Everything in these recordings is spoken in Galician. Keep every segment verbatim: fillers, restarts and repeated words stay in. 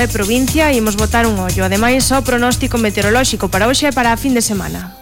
e provincia, imos botar un ollo. Ademais, o pronóstico meteorolóxico para hoxe e para a fin de semana.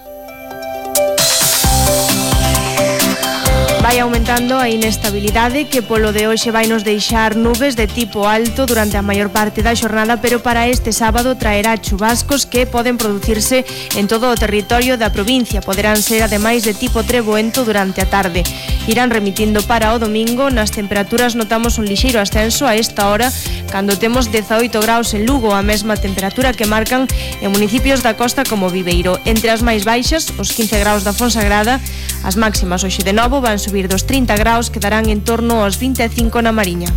Vai aumentando a inestabilidade que polo de hoxe vai nos deixar nubes de tipo alto durante a maior parte da xornada, pero para este sábado traerá chubascos que poden producirse en todo o territorio da provincia. Poderán ser ademais de tipo treboento durante a tarde. Irán remitindo para o domingo. Nas temperaturas notamos un lixeiro ascenso a esta hora, cando temos dezaoito graus en Lugo, a mesma temperatura que marcan en municipios da costa como Viveiro. Entre as máis baixas, os quince graus da Fonsagrada. As máximas hoxe de novo van subir dos trinta graus, quedarán en torno aos vinte e cinco na Mariña.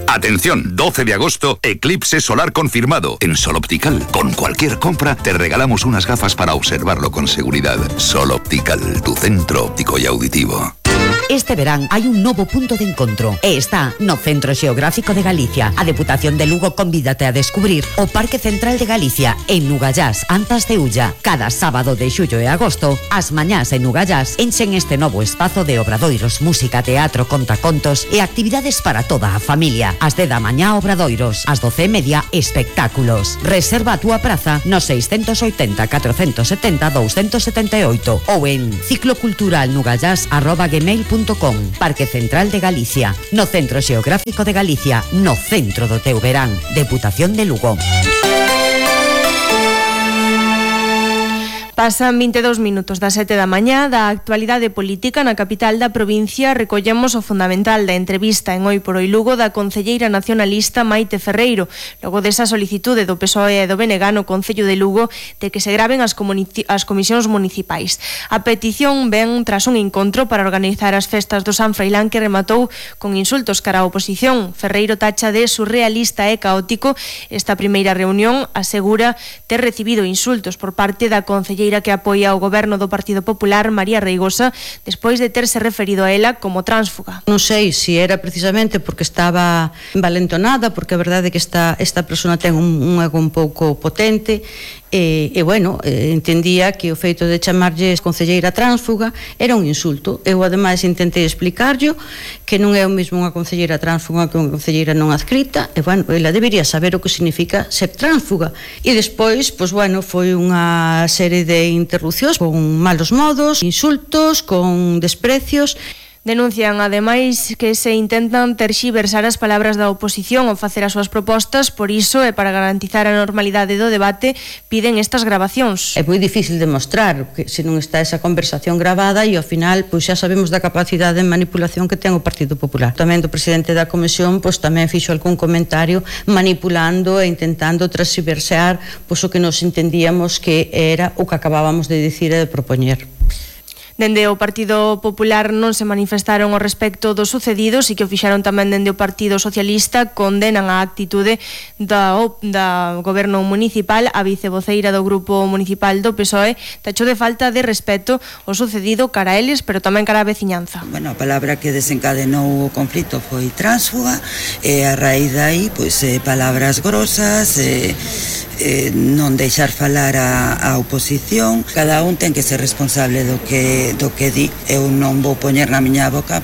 Atención, doce de agosto, eclipse solar confirmado en Sol Optical. Con cualquier compra te regalamos unas gafas para observarlo con seguridad. Sol Optical, tu centro óptico y auditivo. Este verán hai un novo punto de encontro e está no Centro Xeográfico de Galicia. A Deputación de Lugo convídate a descubrir o Parque Central de Galicia en Nugallás, Antas de Ulla. Cada sábado de xullo e agosto, as mañás en Nugallás enchen este novo espazo de obradoiros, música, teatro, contacontos e actividades para toda a familia. As de da mañá obradoiros, as doce e media espectáculos. Reserva a túa praza no seiscentos oitenta, catrocentos setenta, doscientos setenta e oito ou en cicloculturalnugallás arroba gmail punto com. Parque Central de Galicia, no Centro Xeográfico de Galicia, no centro do teu verán. Deputación de Lugo. Pasan vinte e dous minutos das sete da mañá. Da actualidade política na capital da provincia recollemos o fundamental da entrevista en Hoy por Hoy Lugo da concelleira nacionalista Maite Ferreiro, logo desa solicitude do P S O E e do B N G no Concello de Lugo de que se graven as, as comisións municipais. A petición ven tras un encontro para organizar as festas do San Froilán que rematou con insultos cara á oposición. Ferreiro tacha de surrealista e caótico esta primeira reunión, asegura ter recibido insultos por parte da concelleira que apoia o goberno do Partido Popular, María Reigosa, despois de terse referido a ela como tránsfuga. Non sei se era precisamente porque estaba envalentonada, porque a verdade é que esta, esta persona ten un, un ego un pouco potente, e, e bueno, eh, entendía que o feito de chamarlle concelleira tránsfuga era un insulto. Eu ademais intentei explicarllo que non é o mesmo unha concelleira tránsfuga que unha concelleira non adscrita, e bueno, ela debería saber o que significa ser tránsfuga. E despois, pois bueno, foi unha serie de de interrupcións con malos modos, insultos, con desprecios. Denuncian, ademais, que se intentan terxiversar as palabras da oposición ao facer as súas propostas, por iso e para garantizar a normalidade do debate piden estas grabacións. É moi difícil demostrar que se non está esa conversación gravada e ao final pois xa sabemos da capacidade de manipulación que ten o Partido Popular. Tamén do presidente da Comisión pois tamén fixo algún comentario manipulando e intentando terxiversar pois o que nos entendíamos que era o que acabábamos de dicir e de propoñer. Dende o Partido Popular non se manifestaron ao respecto do sucedido, si que o fixaron tamén dende o Partido Socialista, condenan a actitude da, da goberno municipal. A vicevoceira do Grupo Municipal do P S O E tachou de falta de respeto o sucedido cara a eles, pero tamén cara a veciñanza. Bueno, a palabra que desencadenou o conflito foi tránsfuga, e a raíz dai, pois, eh, palabras grosas, eh, eh, non deixar falar a, a oposición. Cada un ten que ser responsable do que do que di. Eu non vou poñer na miña boca,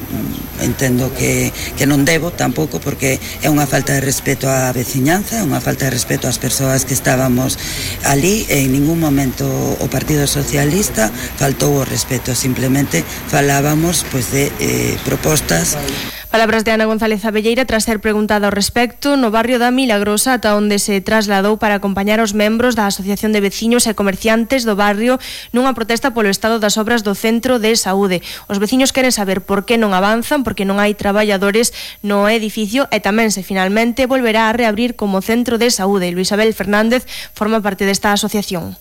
entendo que, que non debo tampouco, porque é unha falta de respeto á veciñanza, é unha falta de respeto ás persoas que estábamos ali, e en ningún momento o Partido Socialista faltou o respeto, simplemente falábamos pois de eh, propostas. Palabras de Ana González Abelleira tras ser preguntada ao respecto no barrio da Milagrosa, ata onde se trasladou para acompañar os membros da Asociación de Veciños e Comerciantes do barrio nunha protesta polo estado das obras do Centro de Saúde. Os veciños queren saber por que non avanzan, porque non hai traballadores no edificio e tamén se finalmente volverá a reabrir como Centro de Saúde. Luis Abel Fernández forma parte desta asociación.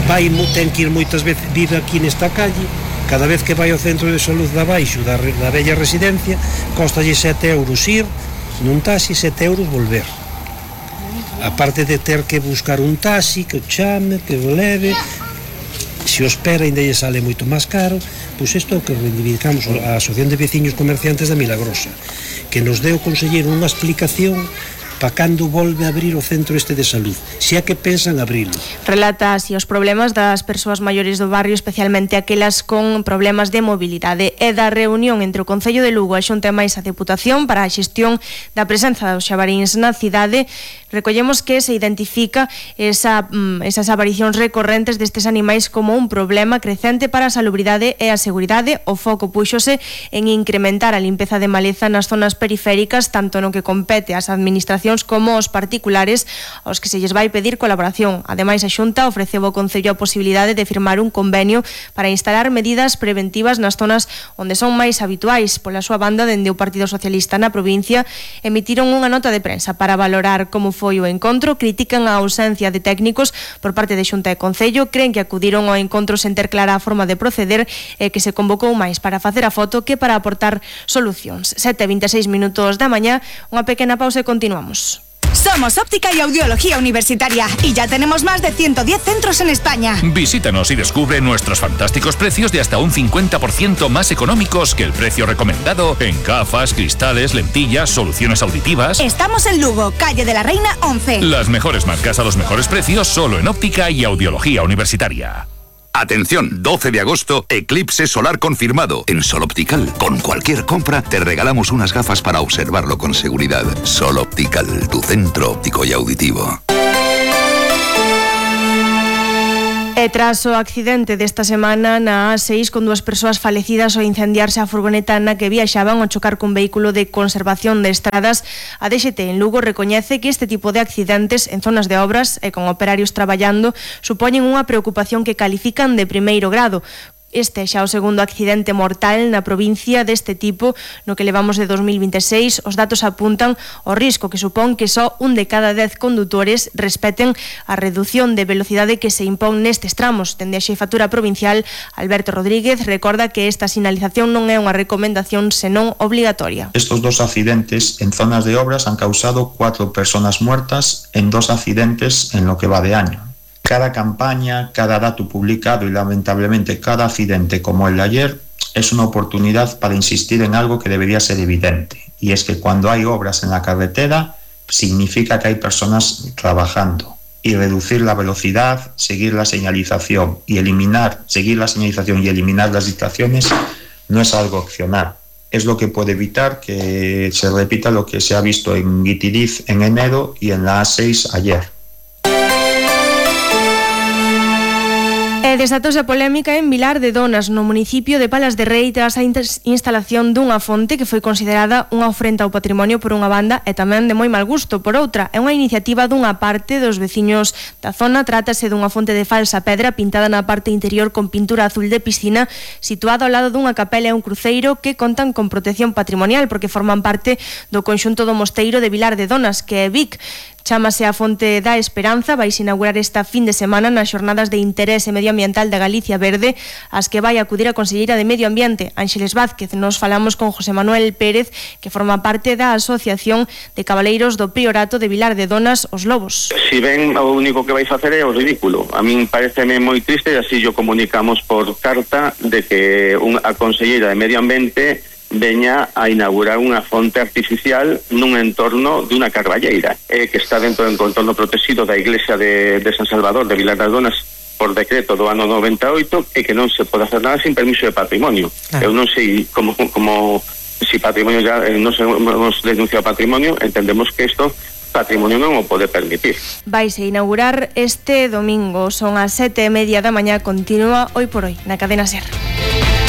Vai, ten que ir moitas veces, vive aquí nesta calle. Cada vez que vai ao centro de saúde da baixo da, da bella residencia, costalle sete euros ir nun taxi, sete euros volver. A parte de ter que buscar un taxi que o chame, que o leve, se o espera ainda lle sale moito máis caro. Pois isto é o que reivindicamos a Asociación de Veciños Comerciantes da Milagrosa, que nos deu o conselleiro unha explicación para cando volve a abrir o centro este de salud, se é que pensan abrilo. Relata así os problemas das persoas maiores do barrio, especialmente aquelas con problemas de mobilidade, e da reunión entre o Concello de Lugo e a Xunta e máis a Deputación para a xestión da presenza dos xabaríns na cidade. Recollemos que se identifica esa, esas aparicións recorrentes destes animais como un problema crecente para a salubridade e a seguridade. O foco púxose en incrementar a limpeza de maleza nas zonas periféricas, tanto no que compete ás administracións como aos particulares, aos que se lles vai pedir colaboración. Ademais, a Xunta ofreceu ao Concello a posibilidade de firmar un convenio para instalar medidas preventivas nas zonas onde son máis habituais. Pola súa banda, dende o Partido Socialista na provincia, emitiron unha nota de prensa para valorar como foi o encontro. Critican a ausencia de técnicos por parte de Xunta e Concello, creen que acudiron ao encontro sen ter clara a forma de proceder e que se convocou máis para facer a foto que para aportar solucións. sete e vinte e seis minutos da mañá, unha pequena pausa e continuamos. Somos Óptica y Audiología Universitaria y ya tenemos más de ciento diez centros en España. Visítanos y descubre nuestros fantásticos precios de hasta un cincuenta por ciento más económicos que el precio recomendado en gafas, cristales, lentillas, soluciones auditivas. Estamos en Lugo, calle de la Reina once. Las mejores marcas a los mejores precios solo en Óptica y Audiología Universitaria. Atención, doce de agosto, eclipse solar confirmado. En Sol Optical, con cualquier compra, te regalamos unas gafas para observarlo con seguridad. Sol Optical, tu centro óptico y auditivo. E tras o accidente desta semana na A seis, con dúas persoas falecidas ao incendiarse a furgoneta na que viaxaban ao chocar cun vehículo de conservación de estradas, a D X T en Lugo recoñece que este tipo de accidentes en zonas de obras e con operarios traballando supoñen unha preocupación que califican de primeiro grado. Este é xa o segundo accidente mortal na provincia deste tipo no que levamos de dos mil vinte e seis. Os datos apuntan ao risco que supón que só un de cada dez condutores respeten a redución de velocidade que se impón nestes tramos. Dende a xefatura provincial, Alberto Rodríguez recorda que esta sinalización non é unha recomendación senón obligatoria. Estos dos accidentes en zonas de obras han causado cuatro personas muertas en dos accidentes en lo que va de año. Cada campaña, cada dato publicado y lamentablemente cada accidente como el de ayer es una oportunidad para insistir en algo que debería ser evidente, y es que cuando hay obras en la carretera significa que hay personas trabajando, y reducir la velocidad, seguir la señalización y eliminar, seguir la señalización y eliminar las distracciones no es algo opcional. Es lo que puede evitar que se repita lo que se ha visto en Guitiriz en enero y en la A seis ayer. E desatouse a polémica en Vilar de Donas, no municipio de Palas de Rei, tras a instalación dunha fonte que foi considerada unha ofrenda ao patrimonio por unha banda e tamén de moi mal gusto por outra. É unha iniciativa dunha parte dos veciños da zona. Trátase dunha fonte de falsa pedra pintada na parte interior con pintura azul de piscina, situada ao lado dunha capela e un cruceiro que contan con protección patrimonial porque forman parte do conxunto do mosteiro de Vilar de Donas, que é Vic. Chámase a Fonte da Esperanza, vai inaugurar esta fin de semana nas xornadas de interese medioambiental da Galicia Verde, as que vai acudir a conselleira de Medio Ambiente, Ángeles Vázquez. Nos falamos con José Manuel Pérez, que forma parte da Asociación de Cabaleiros do Priorato de Vilar de Donas, Os Lobos. Si ben o único que vai facer é o ridículo, a min pareceme moi triste, e así yo comunicamos por carta de que un, a conselleira de Medio Ambiente veña a inaugurar unha fonte artificial nun entorno dunha carballeira eh, que está dentro do entorno protegido da iglesia de, de San Salvador de Vilar das Donas por decreto do ano noventa e oito, e que non se pode hacer nada sin permiso de patrimonio. Claro. Eu non sei como, como si patrimonio ya eh, non se nos denuncia o patrimonio, entendemos que isto patrimonio non o pode permitir. Vaise inaugurar este domingo, son as sete e media da mañá, continúa Hoy por Hoy na cadena SER.